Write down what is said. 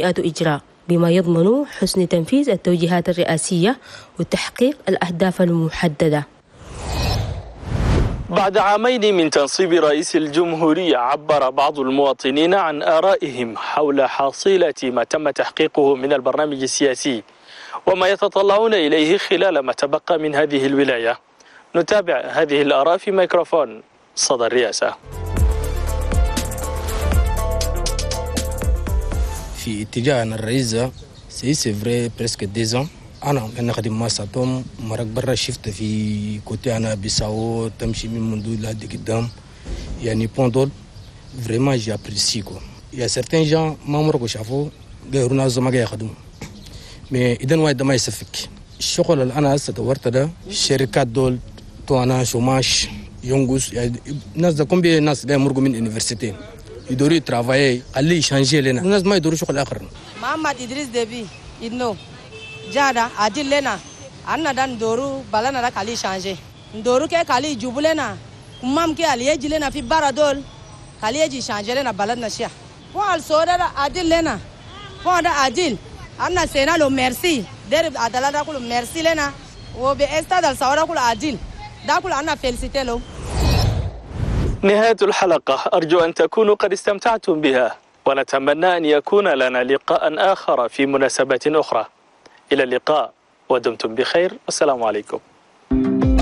إجراء بما يضمن حسن تنفيذ التوجيهات الرئاسية وتحقيق الأهداف المحددة. بعد عامين من تنصيب رئيس الجمهورية، عبر بعض المواطنين عن آرائهم حول حصيلة ما تم تحقيقه من البرنامج السياسي وما يتطلعون إليه خلال ما تبقى من هذه الولاية. نتابع هذه الآراء في ميكروفون صدى الرئاسة. في اتجاه الرئيس، c'est vrai، presque 2 ans انا نخدم مع ساتوم مرق برا، شفت في côté انا بيساو تمشي من منذ لحد قدام، يعني pont دول vraiment j'apprécie quoi. y a certains gens ما مرقوا شافوا غير ناس ما يخدموا، mais اذا واحد ما يسفك الشغل اللي انا هسه دورت ده، الشركات دول تو انا chômage ينقص، يعني الناس ده combien ناس ده يمرقوا من université يدوروا travailler، خليه ي changer لنا، الناس ما يدوروا شغل اخر. محمد ادريس ديبي إدنو جادا عدل لنا، أنا دا ندورو بلدنا دا خلي changer، ندورو كي خلي يجيبوا لنا كمام كي اللي يجي لنا في برا دول، خلي يجي changer لنا بلدنا شيا pont السودا دا عدل لنا، pont دا عدل، أنا سينا له ميرسي درب عدالة دا كله ميرسي لنا، وبإستاد السودا كله عدل دا كله أنا féliciter له. نهاية الحلقة، أرجو أن تكونوا قد استمتعتم بها، ونتمنى أن يكون لنا لقاء آخر في مناسبة أخرى. إلى اللقاء ودمتم بخير، والسلام عليكم.